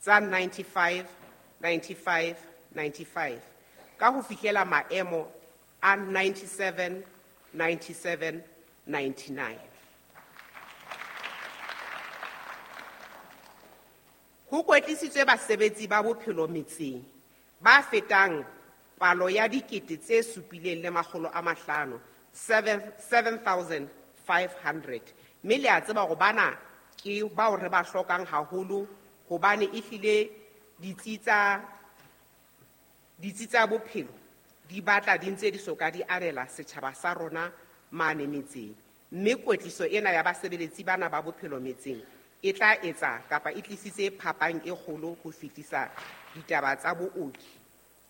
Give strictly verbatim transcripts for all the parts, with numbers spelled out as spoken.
tsa ninety-five, ninety-five, ninety-five ka ho fihlela maemo a ninety-seven, ninety-seven, ninety-nine. Ho kwetlisitswe basebetsi ba bophelo metseng ba fetang palo ya dikete tse supileng le makgolo a mahlano, seven, seven thousand five hundred. Mme le a tseba hore bana ke bao re ba hlokang haholo hobane ehlile ditsi tsa, ditsi tsa bophelo di batla di ntse di soka di abela setjhaba sa rona mane metseng. Mme kwetliso ena ya basebeletsi bana ba bophelo metseng e tla etsa kapa e tlisitse phapang e kgolo ho fetisa ditaba tsa booki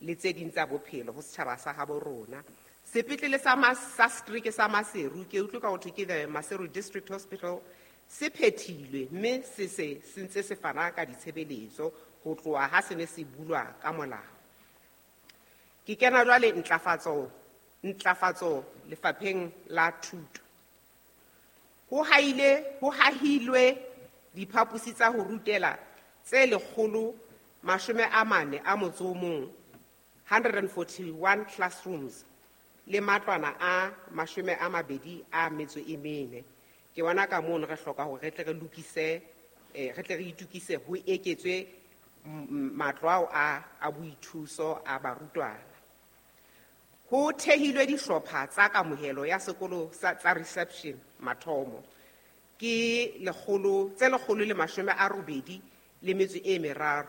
le tse ding tsa bophelo ho setjhaba sa habo rona. Sepetlele sa Mas-, sa setereke sa Maseru, ke utlwe ka ho thwe ke the Maseru District Hospital, se phethilwe mme se se se ntse se fana ka ditshebeletso ho tloha ha se ne se bulwa ka molao. Ke kena jwale ntlafatso, ntlafatso lefapheng la thuto. Ho haile, ho hahilwe diphaposi tsa ho rutela tse lekgolo mashome a mane a motso o mong, hundred and forty-one classrooms le matlwana a mashome a mabedi a metso e mene. Ke bona ka mono re hloka hore re tle re lokise, eh, re tle re itukise ho eketswe m-, m-, matlo ao a, a boithuso a barutwana. Ho thehilwe dihlopha tsa kamohelo ya sekolo sa, tsa reception mathomo. Ke lekgolo, tse lekgolo le mashome a robedi le metso e meraro,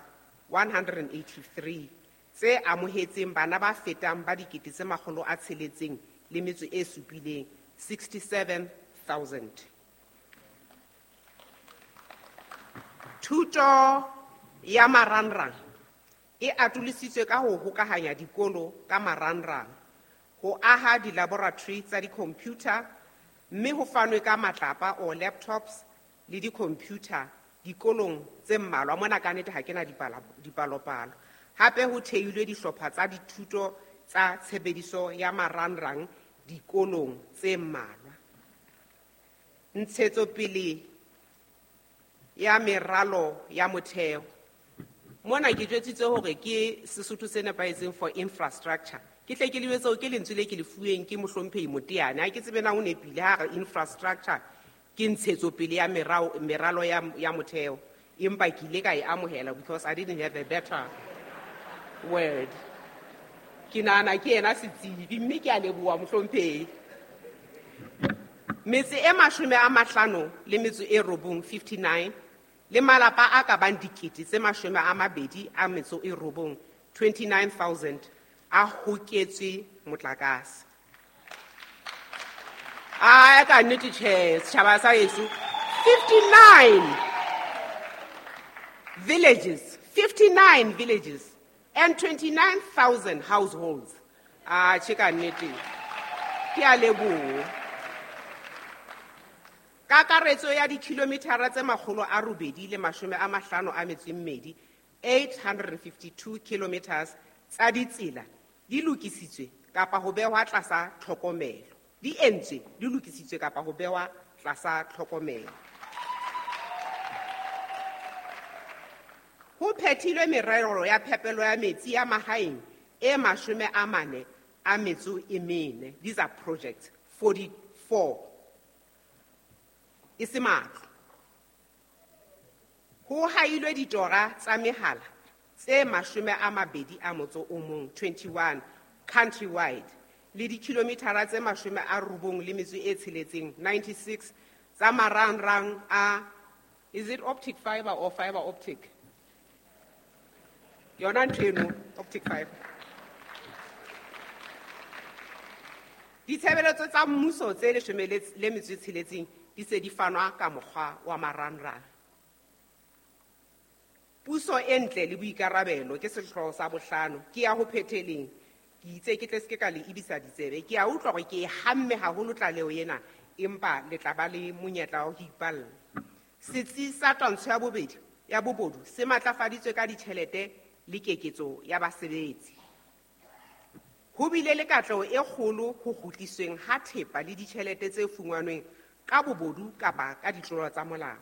one hundred and eighty-three, tse amohetseng bana ba fetang ba dikete tse makgolo a tsheletseng le metso e supileng, sixty-seven thousand. Thuto ya marangrang e atolositswe ka ho hokahanya dikolo ka marangrang, ho aha di-laboratory tsa di-computer, mme ho fanwe ka matlapa or laptops le di-computer dikolong tse mmalwa. Mona ka nnete ha ke na dipala-, dipalopalo. Hape ho theilwe dihlopha tsa dithuto tsa tshebediso ya marangrang dikolong tse mmalwa. Ntshetsopele ya meralo ya motheo. Mona ke jwetsitse hore ke Sesotho se nepahetseng for infrastructure. Ke tle ke le jwetse hore ke lentswe le ke le fuweng ke mohlomphehi Moteane. Ha ke tsebe na o nepile ha re infrastructure ke ntshetsopele ya merao, meralo ya, ya motheo. Empa ke ile ka e amohela because I didn't have a better word. Ke nahana ke yena setsebi mme ke a leboha mohlomphehi. Metse e mashome a mahlano le metso e robong, fifty-nine, le malapa a ka bang dikete tse mashome a mabedi a metso e robong, twenty-nine thousand, a hoketswe motlakase. A ka nnete tjhe, setjhaba sa heso, fifty-nine villages, fifty-nine villages and twenty-nine thousand households. Ah, tjhe ka nnete. Ke a leboha. Kakaretso ya dikilometara tse makgolo a robedi le mashome a mahlano a metso e mmedi, eight hundred and fifty-two kilometers tsa ditsela di lokisitswe kapa ho behwa tlasa tlhokomelo. Di entswe, di lokisitswe kapa ho behwa tlasa tlhokomelo. Ho phethilwe merero ya phepelo ya metsi ya mahaeng e mashome a mane a metso e mene. These are projects, forty-four. E se matlo. Ho hailwe ditora tsa mehala tse mashome a mabedi a motso o mong, twenty-one, countrywide, le dikilometara tse mashome a robong le metso e tsheletseng, ninety-six, tsa marangrang a, is it optic fiber or fiber optic? Yona ntho eno, optic fiber. Ditshebeletso tsa mmuso tse leshome le, le metso e tsheletseng di se di fanwa ka mokgwa wa marangrang. Puso e ntle le boikarabelo ke sehlooho sa bohlano, ke ya ho phetheleng. Ke itse ke tle se ke ka le ebisa ditsebe. Ke a utlwa hore ke e hamme haholo tlaleho ena, empa le tla ba le monyetla wa ho ipalla. Setsi sa twantsho ya bobedi, ya bobodu se matlafaditswe ka ditjhelete le keketso ya basebetsi. Ho bile le katleho e kgolo ho kgutlisweng ha thepa le ditjhelete tse fumanweng ka bobodu kapa ka ditlolo tsa molao.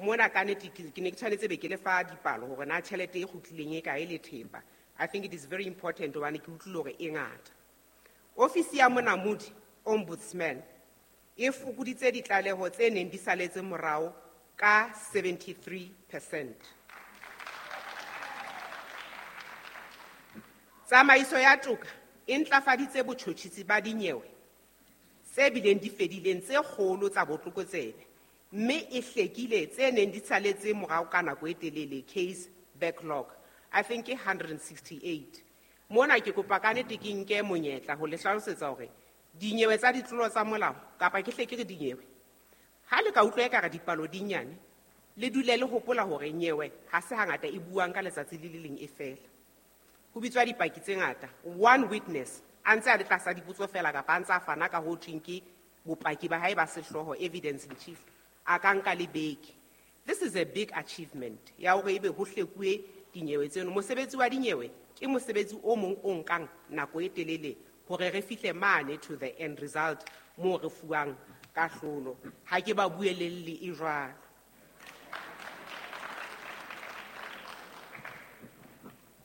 Mona ka nnete ke ne ke tshwanetse be ke le fa dipalo hore na tjhelete e kgutlileng e kae le thepa. I think it is very important hobane ke utlwile hore e ngata. Ofisi ya Monamodi, Ombudsman, e fokoditse ditlaleho tse neng di saletse morao ka seventy-three percent. Tsamaiso ya toka e ntlafaditse botjhotjhisi ba dinyewe tse bileng di fedileng tse kgolo tsa botlokotsebe, mme e hlekile tse neng di saletse morao ka nako e telele, case backlog. I think ke hundred and sixty-eight. Mona ke kopa ka nnete ke nke monyetla ho le hlalosetsa hore dinyewe tsa ditlolo tsa molao, kapa ke hle ke re dinyewe, ha le ka utlwa ekare dipalo di nyane, le dule le hopola hore nyewe ha se hangata e buang ka letsatsi le le leng e fela. Ho bitswa dipaki tse ngata, one witness a ntse a le tlasa dipotso fela kapa a ntse a fana ka ho thweng ke bopaki ba hae ba sehlooho, evidence in chief, a ka nka le beke. This is a big achievement ya hore ebe ho hlekuwe dinyewe tseno. Mosebetsi wa dinyewe ke mosebetsi o mong o nkang nako e telele hore re fihle mane to the end result moo re fuwang kahlolo. Ha ke ba buelelle e jwalo.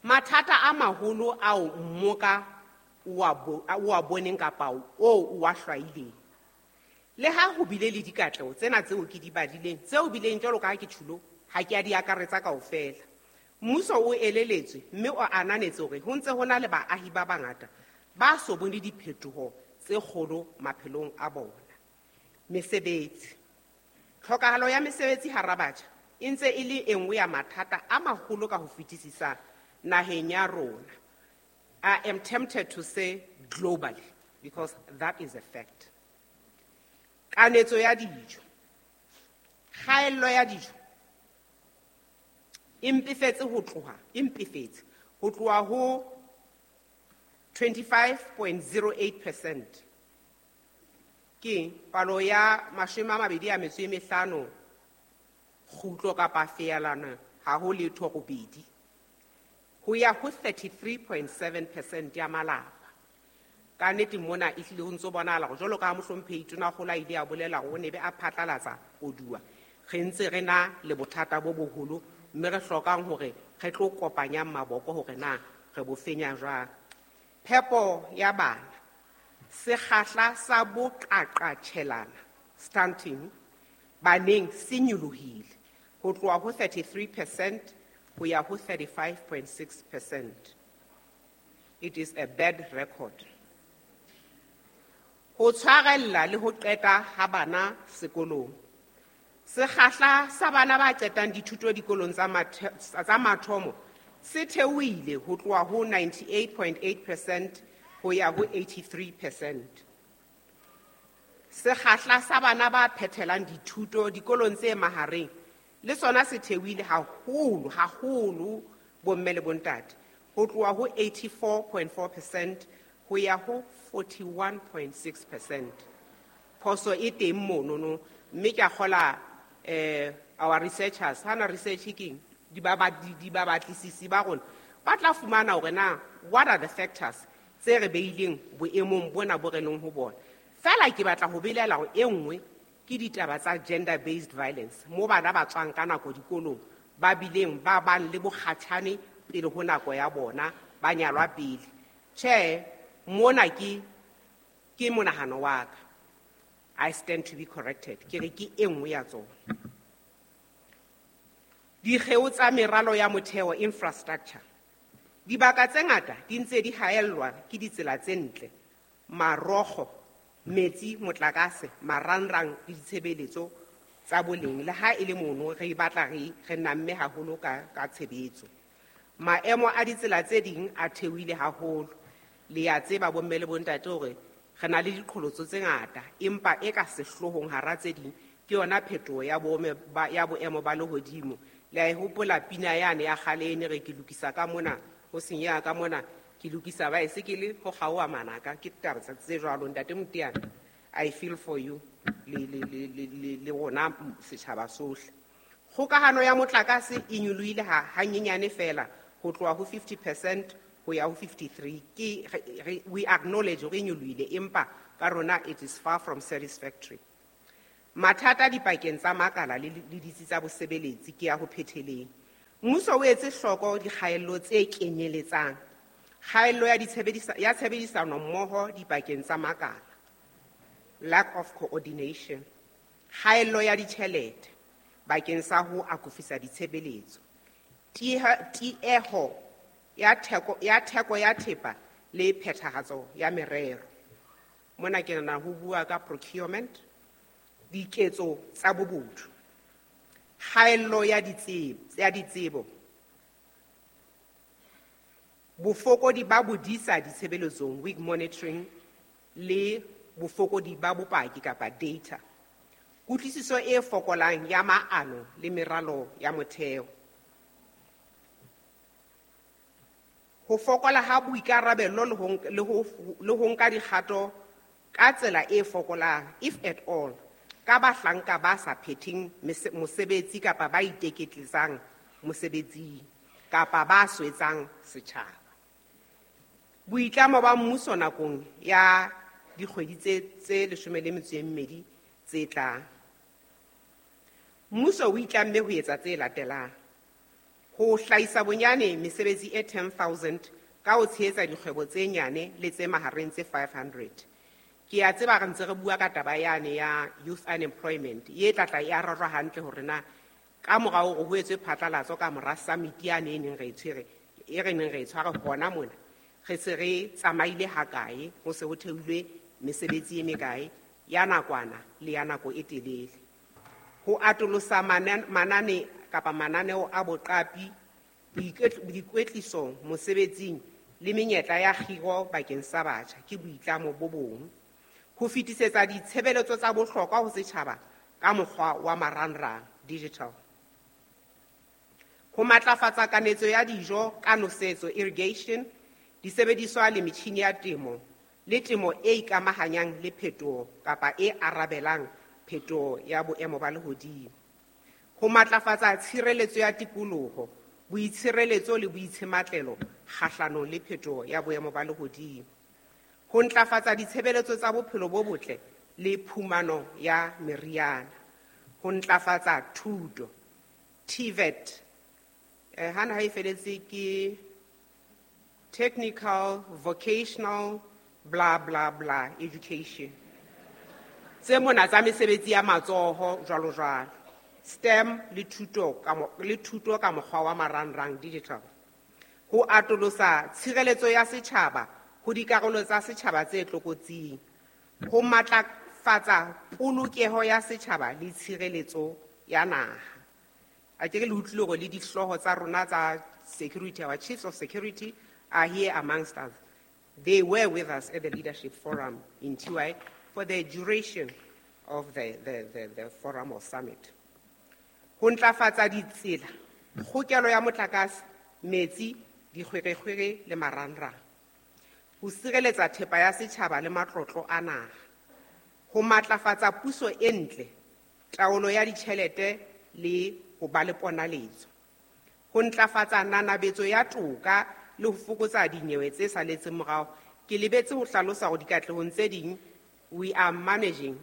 Mathata a maholo ao mmoka o a bo-, o a boneng kapa o o a hlwaileng. Le ha ho bile le dikatleho tsena tseo ke di badileng, tseo bileng jwalo ka ha ke tjhulo, ha ke a di akaretsa kaofela. Mmuso o eleletswe mme o ananetse hore ho ntse ho na le baahi ba bangata ba so bone diphetoho tse kgolo maphelong a bona. Mesebetsi. Tlhokahalo ya mesebetsi hara batjha e ntse e le e nngwe ya mathata a maholo ka ho fetisisa naheng ya rona. I am tempted to say globally, because that is a fact. Kanetso ya dijo. Kgaello ya dijo e mpefetse ho tloha, e mpefetse ho tloha ho twenty-five point zero eight percent. Ke palo ya mashome a mabedi a metso e mehlano kgutlo kapa feelana ha ho letho robedi ho ya ho thirty-three point seven percent ya malapa. Ka nnete mona e hlile ho ntso bonahala hore jwalo ka ha mohlomphehi Tonakgolo a ile a bolela hore o ne be a phatlalatsa koduwa, re ntse re na le bothata bo boholo mme re hlokang hore re tlo kopanyang maboko hore na re bo fenya jwang. Phepo ya bana, sekgahla sa boqaqatjhelana stunting baneng se nyolohile ho tloha ho thirty-three percent ho ya ho thirty-five point six percent. It is a bad record. Ho tshwarella le ho qeta ha bana sekolong. Sekgahla sa bana ba qetang dithuto dikolong tsa mathe-, tsa mathomo se theohile ho tloha ho ninety-eight point eight percent ho ya ho eighty-three percent. Sekgahla sa bana ba phethelang dithuto dikolong tse mahareng le sona se theohile haholo, haholo bomme le bontate, ho tloha ho eighty-four point four percent ho ya ho forty-one point six percent. Phoso e teng monono, mme ke a kgola, eh, our researchers, hana research keng, di ba ba, di, di ba batlisisi ba rona, ba tla fumana hore na what are the factors tse re beileng boemong bona bo re leng ho bona. Feela ke batla ho belaela hore e nngwe ke ditaba tsa gender based violence, mo bana ba tswang ka nako dikolong ba bileng ba bang le bokgatjhane pele ho nako ya bona, ba nyalwa pele. Tjhe, mona ke, ke monahano wa ka. I stand to be corrected. Ke re ke e nngwe ya tsona. Dikgeo tsa meralo ya motheo, infrastructure. Dibaka tse ngata di ntse di haellwa ke ditsela tse ntle, marokgo, metsi, motlakase, marangrang le ditshebeletso tsa boleng. Le ha e le mono re batla re, re namme haholo ka, ka tshebetso. Maemo a ditsela tse ding a theohile haholo. Le a tseba bomme le bontate hore re na le diqholotso tse ngata, empa e ka sehloohong hara tse ding ke yona phetoho ya boemo ba, ya boemo ba lehodimo. Le a e hopola pina yane ya kgale e ne re ke lokisa ka mona, ho senyeha ka mona, ke lokisa baesekele ho kgaoha manaka, ke taba tsa tse jwalo. Ntate Moteane, I feel for you le, le, le, le, le, le rona setjhaba sohle. Kgokahano ya motlakase e nyolohile ha, hanyenyane feela ho tloha ho fifty percent ho ya ho fifty-three. Ke, re, re, we acknowledge hore e nyolohile, empa ka rona it is far from satisfactory. Mathata dipakeng tsa makala le le ditsi tsa bosebeletsi ke ya ho phetheleng. Mmuso o etse hloko dikgaello tse kenyeletsang kgaello ya ditshebedisa ya tshebedisano mmoho dipakeng tsa makala, lack of coordination, kgaello ya ditjhelete bakeng sa ho akofisa ditshebeletso, tieho ya theko ya theko ya thepa le phethahatso ya merero. Mona ke nahana ho bua ka procurement, diketso tsa bobodu, kgaello ya ditsebo, ya ditsebo, bofokodi ba bodisa ditshebeletsong, weak monitoring, le bofokodi ba bopaki kapa data, kutlwisiso e fokolang ya maano le meralo ya motheo, ho fokola ha boikarabelo le ho le ho le ho nka dikgato ka tsela e fokolang, if at all, ka bahlanka ba sa phetheng mosebetsi kapa ba iteketletsang mosebetsing kapa ba swetsang setjhaba. Boitlamo ba mmuso nakong ya dikgwedi tse tse leshome le metso e mmedi tse tlang. Mmuso o itlamme ho etsa tse latelang: ho hlahisa bonyane mesebetsi e ten thousand ka ho tshehetsa dikgwebo tse nyane le tse mahareng tse five hundred. Ke a tseba re ntse re bua ka taba yane ya youth unemployment, e tla tla e arajwa hantle hore na ka mora hore ho etswe phatlalatso ka mora summit yane e neng re e tshwere, e re neng re e tshware hona mona, re se re tsamaile hakae, ho se ho theilwe mesebetsi e mekae ya nakwana le ya nako e telele. Ho atolosa manane kapa mananeo a boqapi, boikwetliso mosebetsing le menyetla ya kgiro bakeng sa batjha ke boitlamo bo bong. Ho fetisetsa ditshebeletso tsa bohlokwa ho setjhaba ka mokgwa wa marangrang, digital. Ho matlafatsa kanetso ya dijo ka nosetso, irrigation, disebediswa le metjhini ya temo le temo e ikamahanyang le phetoho kapa e arabelang phetoho ya boemo ba lehodimo. Ho matlafatsa tshireletso ya tikoloho, boitshireletso le boitshematlelo kgahlanong le phetoho ya boemo ba lehodimo. Ho ntlafatsa ditshebeletso tsa bophelo bo botle le phumano ya meriana. Ho ntlafatsa thuto, T V E T, eh, hana ha e feletse ke technical, vocational, bla bla bla education. Tse mona tsa mesebetsi ya matsoho jwalo jwalo. STEM le thuto ka mo-, le thuto ka mokgwa wa marangrang, digital. Ho atolosa tshireletso ya setjhaba ho dikarolo tsa setjhaba tse tlokotsing. Ho matlafatsa polokeho ya setjhaba le tshireletso ya naha. A ke re le utlwile hore le dihlooho tsa rona tsa security, our chiefs of security are here amongst us. They were with us at the leadership forum in T Y for the duration of the, the, the, the forum or summit. Ho ntlafatsa ditsela, kgokelo ya motlakase, metsi, dikgwerekgwere le marangrang. Ho sireletsa thepa ya setjhaba le matlotlo a naha. Ho matlafatsa puso e ntle, taolo ya ditjhelete le ho ba le ponaletso. Ho ntlafatsa nanabetso ya toka le ho fokotsa dinyewe tse saletseng morao. Ke lebetse ho hlalosa hore dikatlehong tse ding, we are managing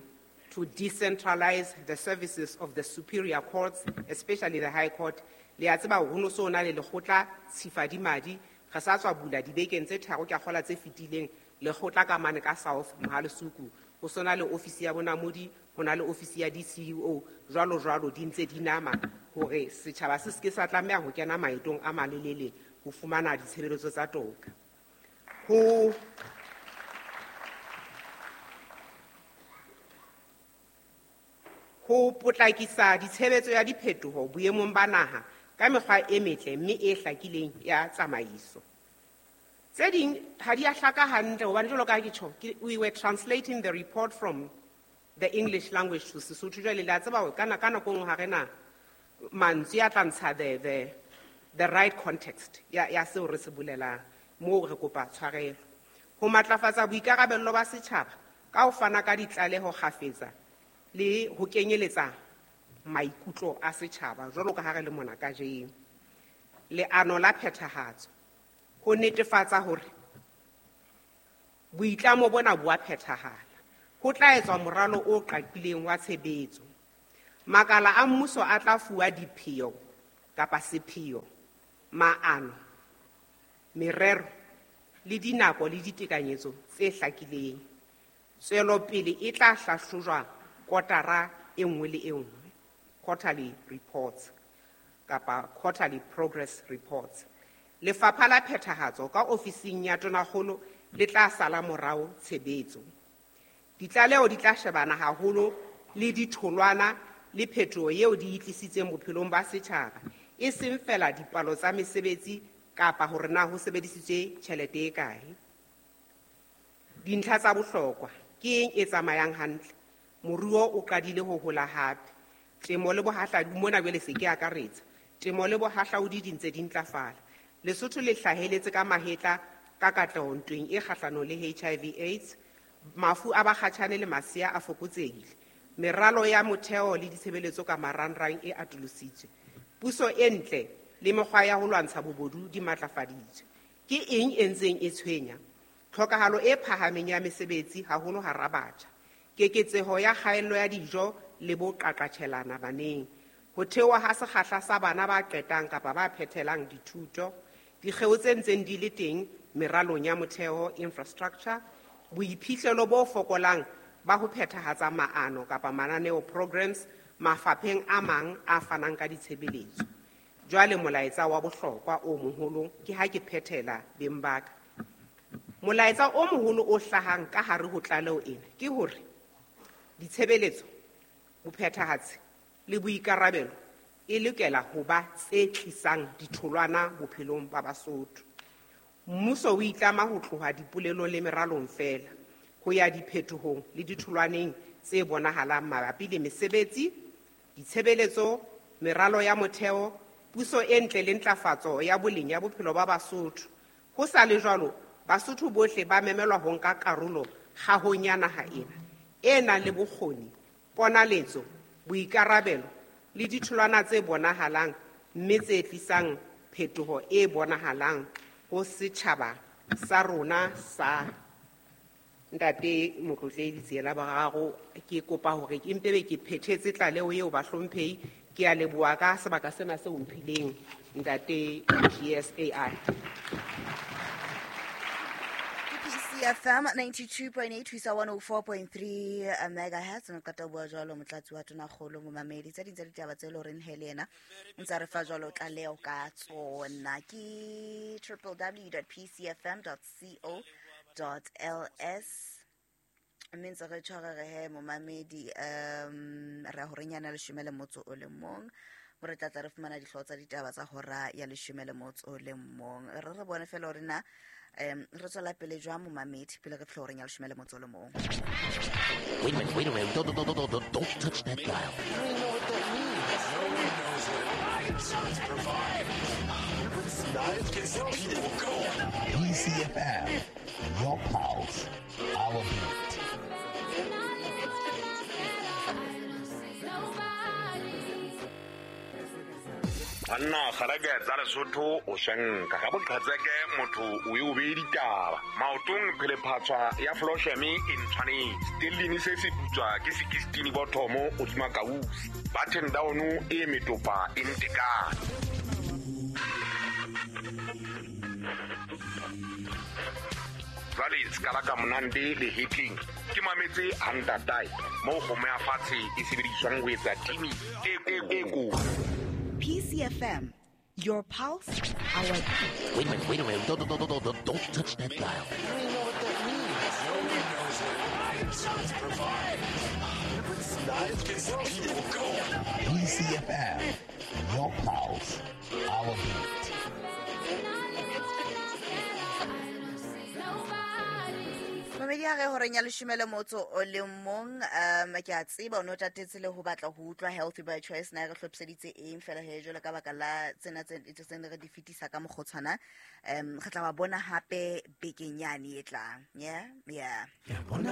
to decentralize the services of the superior courts, especially the High Court. Le a tseba hore ho no so na le lekgotla Tshifadimadi, re sa tswa bula dibekeng tse tharo ke a kgola tse fetileng, lekgotla ka mane ka South Mohalesuku. Ho sona le ofisi ya bonamodi, ho na le ofisi ya D C U O, jwalo jwalo di ntse di nama hore setjhaba se seke sa tlameha ho kena maetong a malelele ho fumana ditshebeletso tsa toka. Ho ho potlakisa ditshebetso ya diphetoho boemong ba naha ka mekgwa e metle mme e hlakileng ya tsamaiso. Tse ding ha di a hlaka hantle hobane jwalo ka ha ke tjho, ke, we were translating the report from the English language to Sesotho. Jwale le a tseba hore ka nako nngwe ha re na mantswe a tla ntsha the, the, the right context ya, ya seo re se bolelang. Moo re kopa tshwarelo. Ho matlafatsa boikarabello ba setjhaba ka ho fana ka ditlaleho kgafetsa le ho kenyeletsa maikutlo a setjhaba jwalo ka ha re le mona kajeno. Leano la phethahatso ho netefatsa hore boitlamo bona bo a phethahala, Ho tla etswa moralo o qaqileng wa tshebetso. Makala a mmuso a tla fuwa dipheo kapa sepheo, maano, merero le dinako le ditekanyetso tse hlakileng. Tswelopele e tla hlahlojwa kotara e nngwe le e nngwe, quarterly reports kapa quarterly progress reports. Lefapha la Phethahatso ka ofising ya Tonakgolo le tla sala morao tshebetso. Ditlaleho di tla shebana haholo le ditholwana le phetoho eo di e tlisitseng bophelong ba setjhaba, e seng feela dipalo tsa mesebetsi kapa hore na ho sebedisitswe tjhelete e kae. Dintlha tsa bohlokwa ke eng e tsamayang hantle? Moruo o qadile ho hola hape. Temo le bohahlaudi mona jwale se ke akaretsa. Temo le bohahlaudi di ntse di ntlafala. Lesotho le hlaheletse ka mahetla ka katleho ntweng e kgahlanong le H I V AIDS. Mafu a bakgatjhane le masea a fokotsehile. Meralo ya motheo le ditshebeletso ka marangrang e atolositswe. Puso e ntle le mekgwa ya ho lwantsha bobodu di matlafaditswe. Ke eng e ntseng e tshwenya? Tlhokahalo e phahameng ya mesebetsi haholo hara batjha. Keketseho ya kgaello ya dijo le boqaqatjhelana baneng. Ho theoha ha sekgahla sa bana ba qetang kapa ba phethelang dithuto. Dikgeo tse ntseng di le teng meralong ya motheo infrastructure. Boiphihlelo bo fokolang ba ho phethahatsa maano kapa mananeo programs mafapheng a mang a fanang ka ditshebeletso. Jwale molaetsa wa bohlokwa o moholo ke ha ke phethela beng ba ka. Molaetsa o moholo o hlahang ka hare ho tlaleho ena ke hore ditshebeletso, bophethahatsi le boikarabelo e lokela ho ba tse tlisang ditholwana bophelong ba Basotho. Mmuso o itlama ho tloha dipolelong le meralong feela ho ya diphetohong le ditholwaneng tse bonahalang mabapi le mesebetsi, ditshebeletso, meralo ya motheo, puso e ntle le ntlafatso ya boleng ya bophelo ba Basotho. Ho sa le jwalo, Basotho bohle ba memelwa ho nka karolo kgahong ya naha ena e nang le bokgoni, ponaletso, boikarabelo le ditholwana tse bonahalang mme tse tlisang phetoho e bonahalang ho setjhaba sa rona sa Ntate Motlotlehi Tsiela Boraro. Ke kopa hore ke mpe be ke phethetse tlaleho eo bahlomphehi. Ke a leboha ka sebaka sena seo mphileng Ntate G S A I. P C F M ninety-two point eight ho isa one oh four point three megahertz. Re qeta ho bua jwalo motlatsi wa Tonakgolo momamedi. Tse ding tsa ditaba tse leng horeng he le yena o ntsa re fa jwalo tlaleho ka tsona. Ke w w w dot p c f m dot co dot l s. Mme ntse re tshware re he momamedi, um re ya horeng yana leshome le motso o le mong. Mo re tla tla re fumana dihlooho tsa ditaba tsa hora ya leshome le motso o le mong. Re re bone fela hore na um re tswela pele jwang momamedi pele re fihla horeng ya leshome le motso o le mong. Wait a minute, wait a minute. Don't, don't, don't, don't, don't touch that dial. P C F M, your pulse, our beat. Banna kgareke tsa Lesotho o shanka ka boqhetseke motho o e o beye ditaba maotong phelephatswa ya Flosheme e ntshwanetse stellini se se putswa ke sixteen bothomo o tsuma kausi button down e metopa e ntekane. Jwale se ka monande le hitting ke mametse hantatai mo kgomo ya fatshe e sebediswang ho etsa timi e e ko. P C F M, your pulse, our beat. Wait a minute, wait a minute. Don't, don't, don't, don't, don't touch that dial. P C F M, your pulse, our beat. Mamedi ha re horeng ya leshome le motso o le mong, um ke a tseba o no tatetse le ho batla ho utlwa Healthy by Choice na re hlophiseditse eng fela he jwalo ka baka la tsena tse tse ne re di fetisa ka mokgotshwana. Um re tla ba bona hape bekeng yane e tlang. Yeah, yeah. Bona